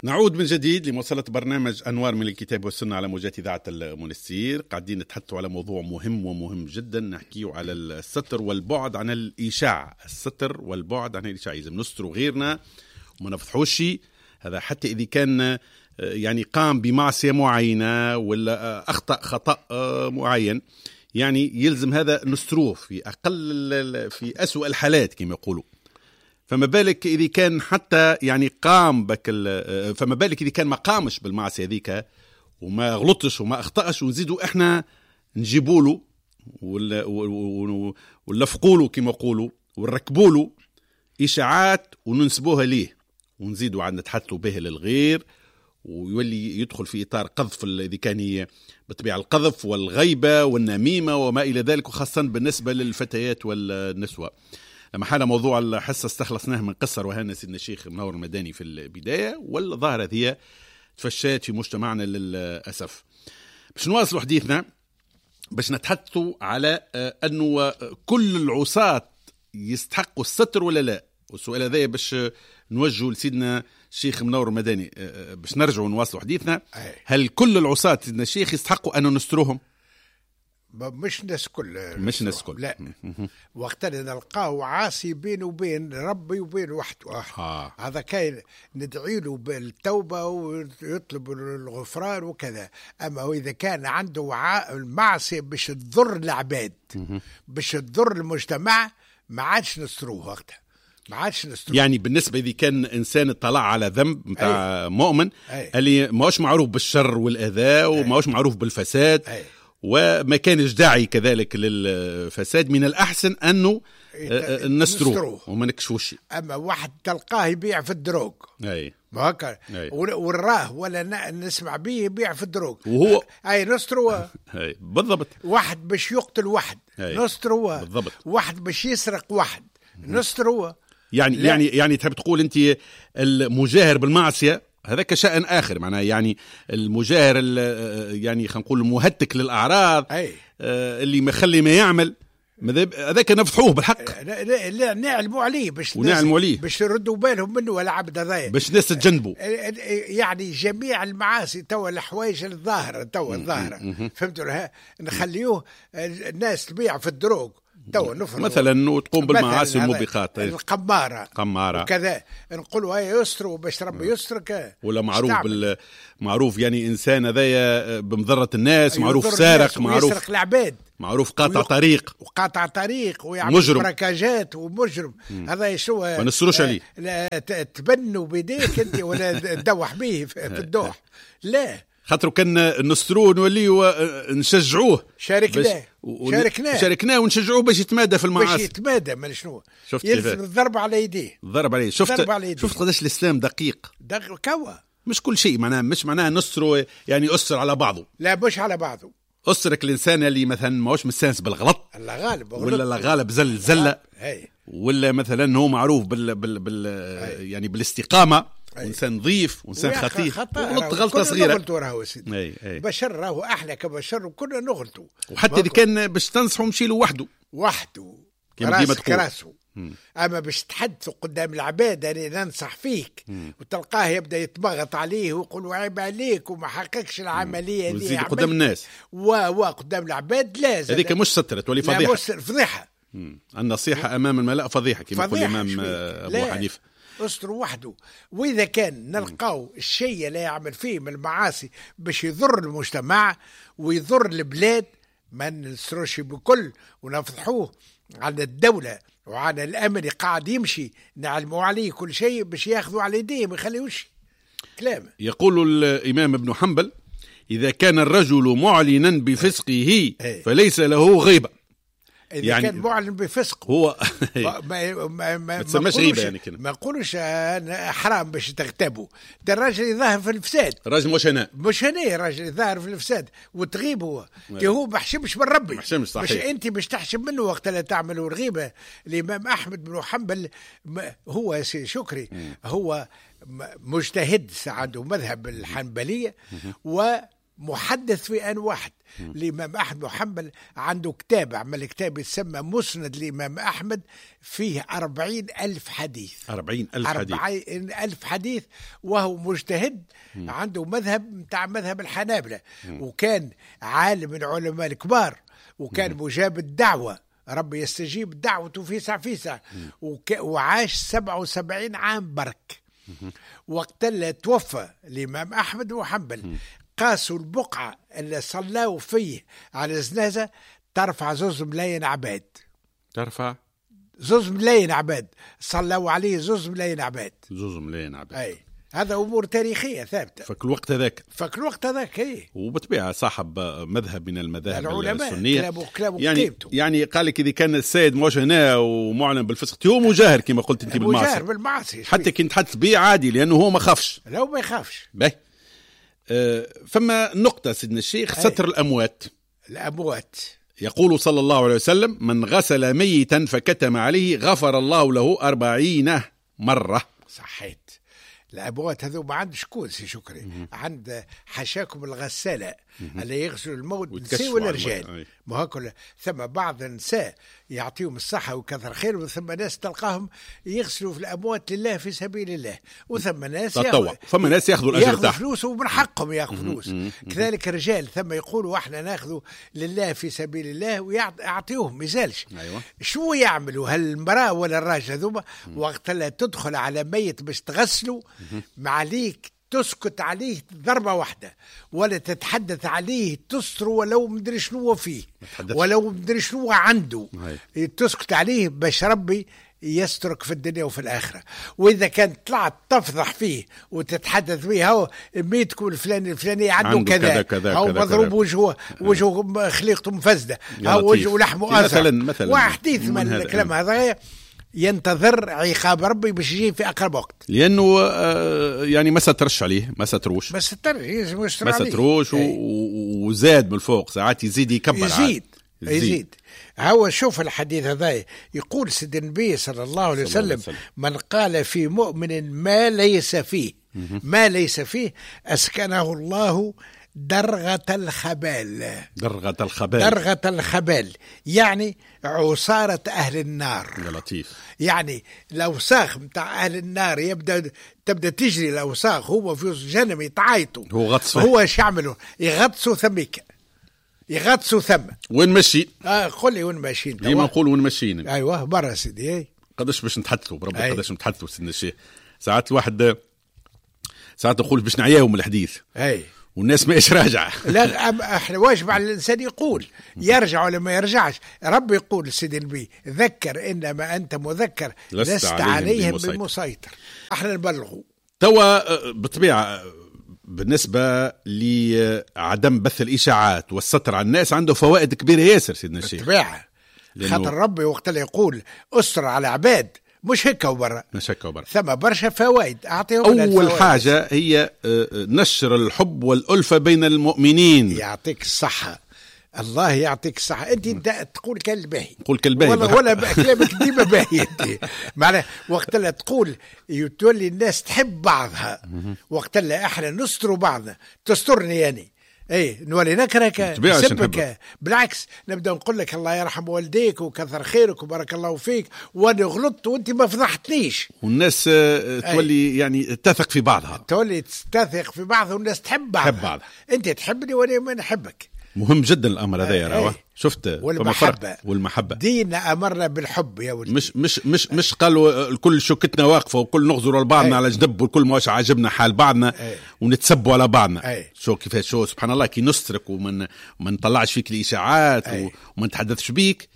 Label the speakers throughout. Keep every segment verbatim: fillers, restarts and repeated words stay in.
Speaker 1: نعود من جديد لمواصلة برنامج أنوار من الكتاب والسنة على موجات إذاعة المنستير. قاعدين نتحدثوا على موضوع مهم ومهم جدا، نحكيه على الستر والبعد عن الإشاعة. الستر والبعد عن الإشاعة، لازم نستروا غيرنا وما نفضحوش. هذا حتى إذا كان يعني قام بمعصية معينة ولا أخطأ خطأ معين، يعني يلزم هذا نستروه في أقل في أسوأ الحالات كما يقولوا. فما بالك إذا كان حتى يعني قام بك، فما بالك إذا كان ما قامش بالمعصية هذيك وما غلطش وما أخطأش، ونزيدوا إحنا نجيبوا له ونلفقوا له كما يقولوا ونركبوا له إشاعات وننسبوها ليه، ونزيدوا عاد نتحدثوا به للغير، ويولي يدخل في إطار قذف إذا كان هي بالطبيعة القذف والغيبة والنميمة وما إلى ذلك، وخاصة بالنسبة للفتيات والنسوة. لما حال موضوع الحصة استخلصناه من قصة رواها سيدنا الشيخ منور المداني في البداية، والظاهرة هي تفشات في مجتمعنا للأسف. باش نواصلوا حديثنا باش نتحدثوا على أنه كل العصاة يستحقوا الستر ولا لا، والسؤال هذا باش نوجهه لسيدنا الشيخ منور المداني باش نرجعوا نواصلوا حديثنا. هل كل العصاة سيدنا الشيخ يستحقوا أن نستروهم؟
Speaker 2: مش الناس كل،
Speaker 1: مش الناس كل،
Speaker 2: لا. وقت اللي نلقاه عاصي بينه وبين ربي وبين وحده آه. هذا كاين ندعي له بالتوبة ويطلب الغفران وكذا. أما هو إذا كان عنده المعصية باش تضر العباد، باش تضر المجتمع، ما عادش نستروه وقتها، ما عادش نستروه.
Speaker 1: يعني بالنسبة إذا كان إنسان اطلع على ذنب متاع مؤمن أي. اللي ماهوش معروف بالشر والأذى وماهوش معروف بالفساد أي. وما كانش داعي كذلك للفساد، من الأحسن أنه نستروه وما نكشفوش.
Speaker 2: أما واحد تلقاه يبيع في ال drogue،
Speaker 1: أي
Speaker 2: ما هكا وراه ولا نسمع به يبيع في ال drogue
Speaker 1: وهو
Speaker 2: أي نستروه.
Speaker 1: أي بالضبط.
Speaker 2: واحد باش يقتل واحد نستروه،
Speaker 1: بالضبط.
Speaker 2: واحد باش يسرق واحد نستروه.
Speaker 1: يعني لا. يعني يعني تحب تقول أنت المجاهر بالمعصية هذاك شأن آخر، معناه يعني المجاهر يعني خلينا نقول المهتك للأعراض،
Speaker 2: أي.
Speaker 1: اللي ما خلي ما يعمل هذاك نفضحوه بالحق،
Speaker 2: لا, لا, لا نعلموا عليه باش
Speaker 1: ونعلموا عليه
Speaker 2: باش يردوا بالهم منه ولا عبد هذايا
Speaker 1: باش الناس تتجنبوا.
Speaker 2: يعني جميع المعاصي توا الحوايج الظاهرة توا الظاهرة، فهمتوا؟ نخليوه الناس تبيع في ال drogue تو نفرض
Speaker 1: مثلا وتقوم بالمعاصي والموبقات،
Speaker 2: القمارة
Speaker 1: قمارة
Speaker 2: وكذا، نقولوا هاي يستروا باش ربي يسترك.
Speaker 1: ولا معروف بال... معروف يعني إنسان هذايا بمضرة الناس، معروف سارق، معروف
Speaker 2: يسرق العباد،
Speaker 1: معروف قاطع ويق... طريق
Speaker 2: وقاطع طريق ويعمل براكاجات ومجرم. مم. هذا شو
Speaker 1: ما نستروش عليه،
Speaker 2: لا تبنوا بيديك انت ولا تدوح به في الدوح، لا
Speaker 1: خاطر كان نستروه نوليو نشجعوه،
Speaker 2: شاركناه
Speaker 1: ون... شاركناه شاركناه ونشجعوه باش يتمادى في المعاصي،
Speaker 2: باش يتمادى. من شنو شفت يلزم الضرب على يديه،
Speaker 1: الضرب عليه. شفت على يديه. شفت قداش الاسلام دقيق،
Speaker 2: دقيق كوا
Speaker 1: مش كل شيء معناه، مش معناه نسترو يعني أسر على بعضه،
Speaker 2: لا مش على بعضه.
Speaker 1: أسرك الانسان اللي مثلا ماهوش مستانس بالغلط،
Speaker 2: الله غالب
Speaker 1: ولا الله غالب زل زلة، ولا مثلا هو معروف بال بال, بال... يعني بالاستقامة، وإنسان نظيف وإنسان خطير، غلط غلطة صغيرة
Speaker 2: نغلطوا راهو سيدي. بشر راهو أحلى كبشر وكنا نغلطوا.
Speaker 1: وحتى إذا كان باش تنصحه مشي له وحده
Speaker 2: وحده راسك راسه. أما باش تحدثوا قدام العباد أنا ننصح فيك، مم. وتلقاه يبدأ يتبغط عليه ويقول عيب عليك وما حققش العملية دي
Speaker 1: وزيد قدام الناس
Speaker 2: و و قدام العباد. لازم
Speaker 1: هذيك مش سترة تولي فضيحة،
Speaker 2: فضيحة.
Speaker 1: النصيحة أمام الملأ فضيحة كما يقول الإمام أبو حنيفة.
Speaker 2: استر وحده. وإذا كان نلقاو الشيء اللي يعمل فيه من المعاصي باش يضر المجتمع ويضر البلاد ما نستروش بكل ونفضحوه على الدولة وعلى الأمن قاعد يمشي، نعلموا عليه كل شيء باش ياخذوا على يديه ما يخليوش كلام.
Speaker 1: يقول الإمام ابن حنبل إذا كان الرجل معلنا بفسقه فليس له غيبة.
Speaker 2: إذا يعني كان معلن بفسق
Speaker 1: هو
Speaker 2: ما ما ما,
Speaker 1: ما تسماش غيبة يعني كده.
Speaker 2: ما نقولوش حرام باش تغتابوا، ده الراجل يظهر في الفساد،
Speaker 1: الراجل مش هنا
Speaker 2: مش هنا، الراجل يظهر في الفساد وتغيب هو، هو ما حشمش من ربي،
Speaker 1: ما حشمش صحيح.
Speaker 2: مش انت باش تحشم منه وقت لا تعملوا الغيبة. الإمام أحمد بن حنبل هو شكري م. هو مجتهد عنده مذهب الحنبلية و محدث في آن واحد. الإمام أحمد محمد عنده كتاب، عمل كتاب يسمى مسند الإمام أحمد، فيه أربعين ألف حديث.
Speaker 1: أربعين ألف حديث.
Speaker 2: أربعين ألف حديث، وهو مجتهد. مم. عنده مذهب متاع مذهب الحنابلة. مم. وكان عالم من علماء الكبار، وكان مم. مجاب الدعوة، ربي يستجيب دعوته في ساعة في ساعة. وك... وعاش سبعة وسبعين عام برك. مم. وقت اللي توفى الإمام أحمد وحنبل قاسوا البقعة اللي صلاوا فيه على الجنازة ترفع زوز ملايين عباد.
Speaker 1: ترفع
Speaker 2: زوز ملايين عباد صلاوا عليه، زوز ملايين عباد.
Speaker 1: زوز ملايين عباد.
Speaker 2: أي هذا أمور تاريخية ثابتة.
Speaker 1: فك الوقت هذاك.
Speaker 2: فك الوقت هذاك إيه.
Speaker 1: وبالطبيعة صاحب مذهب من المذاهب
Speaker 2: العلماء
Speaker 1: السنية.
Speaker 2: كلابه كلابه
Speaker 1: يعني يعني قال لك إذا كان السيد موش هنا ومعلن بالفسق هو مجاهر كما قلت أنت بالمعاصي.
Speaker 2: مجاهر بالمعاصي.
Speaker 1: حتى كي نتحدث به عادي لأنه هو ما خافش.
Speaker 2: لا ما يخافش.
Speaker 1: باهي. فما نقطة سيدنا الشيخ، ستر الأموات.
Speaker 2: الأموات
Speaker 1: يقول صلى الله عليه وسلم: من غسل ميتا فكتم عليه غفر الله له أربعين مرة.
Speaker 2: صحيت. الأموات هذو ما عند شكون سي شكري؟ مم. عند حشاكم الغسالة مم. اللي يغسلوا الموت، نساء ولا رجال. ما هكذا ثم بعض النساء يعطيهم الصحة وكثر خير، وثم ناس تلقاهم يغسلوا في الأموات لله في سبيل الله، وثم ناس
Speaker 1: تطوع، ثم ناس ياخذوا الأجر
Speaker 2: ياخذوا فلوس ومن حقهم ياخذوا فلوس. كذلك الرجال ثم يقولوا احنا ناخذوا لله في سبيل الله ويعطيوهم ما يزالش.
Speaker 1: أيوة.
Speaker 2: شو يعملوا هالمرأة ولا الراجل هذوما وقت لا تدخل على ميت باش تغسله معليك تسكت عليه ضربة واحدة ولا تتحدث عليه، تستر ولو مدري شنو فيه ولو مدري شنو عنده.
Speaker 1: هاي.
Speaker 2: تسكت عليه باش ربي يسترك في الدنيا وفي الآخرة. وإذا كان طلعت تفضح فيه وتتحدث فيه، هو ميتكم الفلاني الفلاني عنده, عنده كذا, كذا هو مضروب وجهه وجهه خليقته مفزدة، هو وجهه لحمه أزرق،
Speaker 1: مثلا
Speaker 2: وحديث من الكلام هذا ينتظر عقاب ربي باش يجي في أقرب وقت،
Speaker 1: لأنه يعني ما سترش عليه، ما ستروش،
Speaker 2: ما سترش،
Speaker 1: ما ستروش، وزاد من الفوق ساعات يزيد يكبر،
Speaker 2: يزيد يزيد, يزيد. هو شوف الحديث هذا يقول سيد النبي صلى الله عليه وسلم: من قال في مؤمن ما ليس فيه، ما ليس فيه أسكنه الله درغة الخبال.
Speaker 1: درغة الخبال.
Speaker 2: درغة الخبال يعني عصارة أهل النار.
Speaker 1: يا لطيف.
Speaker 2: يعني الأوساخ متاع أهل النار يبدأ تبدأ تجري الأوساخ، هو في جنم يتعايطوا،
Speaker 1: هو غطس،
Speaker 2: هو ايش يعملوا؟ يغطسوا ثميك، يغطسوا ثم.
Speaker 1: وين ماشي؟
Speaker 2: آه قل لي وين ماشيين؟
Speaker 1: ديما نقول وين ماشيين.
Speaker 2: أيوه برا سيدي.
Speaker 1: قداش باش نتحدثوا بربي، قداش نتحدثوا سيدنا الشيخ. ساعات الواحد ساعات نقول باش نعياهم الحديث.
Speaker 2: أي.
Speaker 1: والناس ما ايش راجعه.
Speaker 2: لا احنا واجب على الانسان يقول يرجع ولا ما يرجعش. ربي يقول سيدي النبي: ذكر انما انت مذكر لست, لست عليهم, عليهم بمسيطر. بمسيطر. احنا نبلغوا
Speaker 1: توا بالطبيعه. بالنسبه لعدم بث الاشاعات والستر على الناس عنده فوائد كبيره ياسر سيدنا الشيخ.
Speaker 2: بالطبيعه، خاطر ربي وقت اللي يقول استر على عباد مش هكا وبرا،
Speaker 1: مش هكا وبرا،
Speaker 2: ثم برشا فوائد اعطيهم.
Speaker 1: اول حاجه هي نشر الحب والألفة بين المؤمنين.
Speaker 2: يعطيك الصحه، الله يعطيك الصحه. انت تقول كان الباهي،
Speaker 1: تقول كالباهي
Speaker 2: ولا, ولا كلامك ديما باهي انت. معناها وقت اللي تقول تولي الناس تحب بعضها، وقت اللي احنا نستروا بعضنا، تسترني يعني اي نولي نكرهك نسبك، بالعكس نبدا نقول لك الله يرحم والديك وكثر خيرك وبارك الله فيك، وانا غلطت وانت ما فضحتنيش.
Speaker 1: والناس تولي يعني تثق في بعضها،
Speaker 2: تولي تثق في بعضها، والناس تحب بعضها.
Speaker 1: تحب بعضها.
Speaker 2: انت تحبني وانا ما نحبك.
Speaker 1: مهم جدا الامر هذا يا راوه. شفت
Speaker 2: والمحبه،
Speaker 1: والمحبه
Speaker 2: ديننا امرنا بالحب يا ولدي.
Speaker 1: مش مش مش مش قالوا الكل شوكتنا واقفه وكل نغزر لبعضنا على جنب والكل ماش عاجبنا حال بعضنا ونتسبوا على بعضنا.
Speaker 2: أي.
Speaker 1: شو كيفاش، شو سبحان الله كي نسترك ومن ما نطلعش فيك الاشاعات وما نتحدثش بيك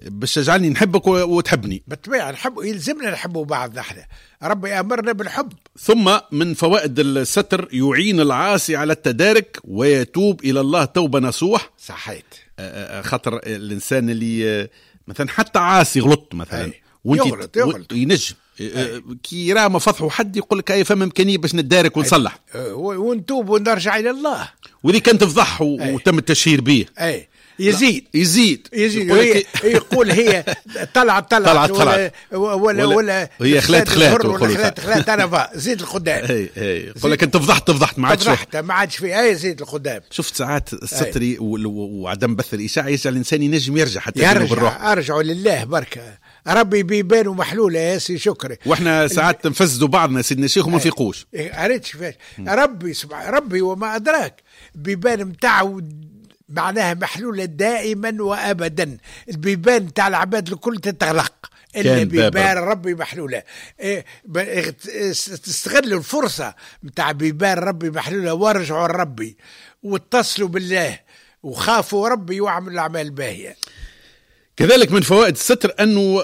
Speaker 1: باش تجعلني نحبك وتحبني.
Speaker 2: بالطبيعه نحب، يلزمنا نحبوا بعض نحن، ربي امرنا بالحب.
Speaker 1: ثم من فوائد الستر يعين العاصي على التدارك ويتوب الى الله توبه نصوح.
Speaker 2: صحيت.
Speaker 1: خاطر الانسان اللي مثلا حتى عاصي غلط مثلا
Speaker 2: وانت يغلط يغلط
Speaker 1: ينجم كي يرى ما فضحوا حد يقول لك اي فما امكانيه باش نتدارك ونصلح
Speaker 2: ونتوب ونرجع الى الله.
Speaker 1: واذا كان تفضح وتم التشهير به
Speaker 2: اي يزيد
Speaker 1: يزيد
Speaker 2: يزيد يقول, هي يقول هي طلعت طلعت
Speaker 1: طلعت
Speaker 2: ولا ولا, ولا
Speaker 1: هي خلات خلات
Speaker 2: ولا خلات خلات انا فا زيد القدام.
Speaker 1: اي اي يقول لك انت فضحت فضحت ما عادش
Speaker 2: فضحت ما عادش في اي زيد القدام.
Speaker 1: شفت ساعات الستر وعدم بث الاشاعة يجعل الانسان ينجم يرجع حتى
Speaker 2: يرجع. ارجعوا لله بركة ربي بيبان ومحلوله يا سي شكري.
Speaker 1: واحنا ساعات نفسدوا بعضنا سيدنا الشيخ وما نفيقوش.
Speaker 2: عرفت كيفاش ربي سبحانه ربي وما ادراك بيبان نتاعو معناها محلولة دائما وأبدا. البيبان تاع العباد الكل تتغلق إلا بيبان ربي محلولة. إيه تستغلوا الفرصة متاع بيبان ربي محلولة وارجعوا لربي واتصلوا بالله وخافوا ربي واعملوا الأعمال الباهية.
Speaker 1: كذلك من فوائد الستر أنه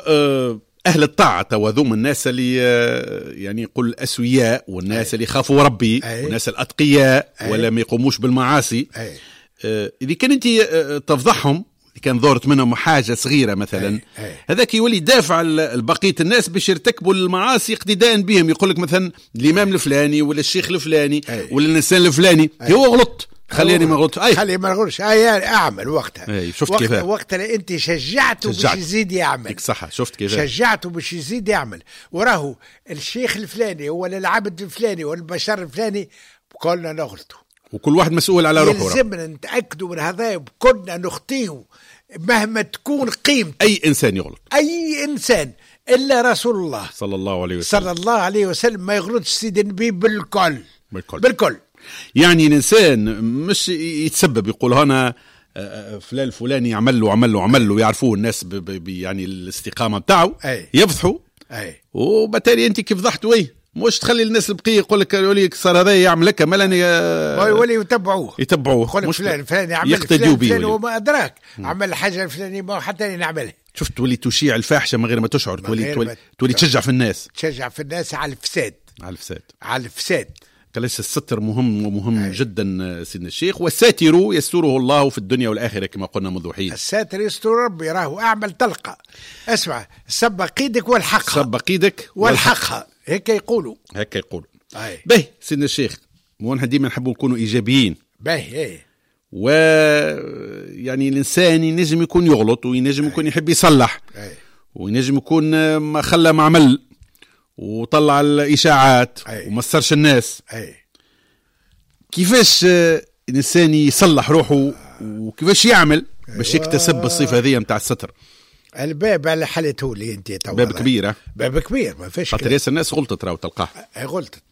Speaker 1: أهل الطاعة وذوم الناس اللي يعني يقول الأسوياء والناس اللي خافوا ربي والناس الأتقياء ولا ما يقوموش بالمعاصي. أي. إذا كان أنت تفضحهم، إذا كان ظهرت منهم حاجة صغيرة مثلا، هذاك يولي دافع لبقية الناس باش يرتكبوا المعاصي اقتداء بهم. يقول لك مثلا الإمام الفلاني ولا الشيخ الفلاني أي. ولا الإنسان الفلاني أي. هو غلط خليني ما غلط،
Speaker 2: خليني ما نغلطش، أي أعمل وقتها.
Speaker 1: أي. شفت
Speaker 2: وقت
Speaker 1: كيف
Speaker 2: وقتها أنت شجعته باش يزيد يعمل.
Speaker 1: صح شفت كيف
Speaker 2: شجعته باش يزيد يعمل. وراهو الشيخ الفلاني ولا العبد الفلاني ولا البشر الفلاني كلنا نغلطوا
Speaker 1: وكل واحد مسؤول على روحه.
Speaker 2: يلزمنا نتأكدوا من هذا، كلنا نخطيه مهما تكون قيمته.
Speaker 1: أي إنسان يغلط،
Speaker 2: أي إنسان إلا رسول الله
Speaker 1: صلى الله عليه وسلم،
Speaker 2: صلى الله عليه وسلم ما يغلطش سيد النبي بالكل
Speaker 1: بالكل,
Speaker 2: بالكل.
Speaker 1: يعني الإنسان مش يتسبب يقول هنا فلان فلاني عمل له عمل له عمل له، يعرفوه الناس ب ب يعني الاستقامة بتاعه يفضحوا، وبالتالي أنت كيف فضحته إيه مش تخلي الناس البقية يقول لك يقول لك صار هذا يعمل لك مالا
Speaker 2: يولي يتبعوه
Speaker 1: يتبعوه
Speaker 2: يقول لك فلان فلان يعمل
Speaker 1: يقتديوا به
Speaker 2: وما ادراك عمل حاجة الفلانية ما حتى نعملها.
Speaker 1: شفت تولي تشيع الفاحشة من غير ما تشعر، تولي تولي, تولي تشجع في الناس،
Speaker 2: تشجع في الناس على الفساد،
Speaker 1: على الفساد،
Speaker 2: على الفساد.
Speaker 1: كلاش الستر مهم ومهم أي. جدا سيدنا الشيخ. والساتر يستره الله في الدنيا والآخرة كما قلنا منذ حين.
Speaker 2: الساتر يستر ربي، راهو أعمل تلقى. اسمع، سبق ايدك والحقها،
Speaker 1: سبق ايدك
Speaker 2: والحقها، هيك يقولوا،
Speaker 1: هيك يقولوا. باهي سيدنا الشيخ، ونحن ديما نحبوا نكونوا إيجابيين.
Speaker 2: باهي ايه.
Speaker 1: و يعني الإنسان ينجم يكون يغلط وينجم يكون يحب يصلح
Speaker 2: أي.
Speaker 1: وينجم يكون ما خلى ما عمل وطلع الإشاعات وما صرش الناس.
Speaker 2: أي.
Speaker 1: كيفاش الإنسان يصلح روحه وكيفاش يعمل باش يكتسب الصفة هذه متاع الستر؟
Speaker 2: الباب على حالته لي انت تو
Speaker 1: باب كبير،
Speaker 2: باب كبير ما فيش.
Speaker 1: خاطر ياسر الناس غلطت راهو تلقاه
Speaker 2: غلطت.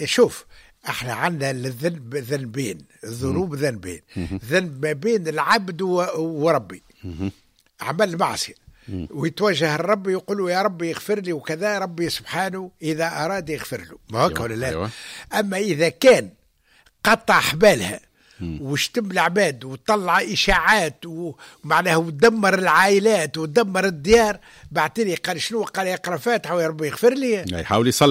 Speaker 2: شوف احنا عندنا الذنب ذنبين، الذنوب ذنبين، ذنب ما بين العبد وربي، عمل معصية ويتوجه الرب يقول له يا ربي يغفر لي وكذا، ربي سبحانه إذا أراد يغفر له، ما هكا ولا لا؟
Speaker 1: أيوة.
Speaker 2: أما إذا كان قطع حبالها وشتم العباد وطلع إشاعات ومعناها ودمر العائلات ودمر الديار، بعتني قال شنو؟ قال يقرأ فاتحة ويا ربي يغفر لي،
Speaker 1: يحاول يصلح.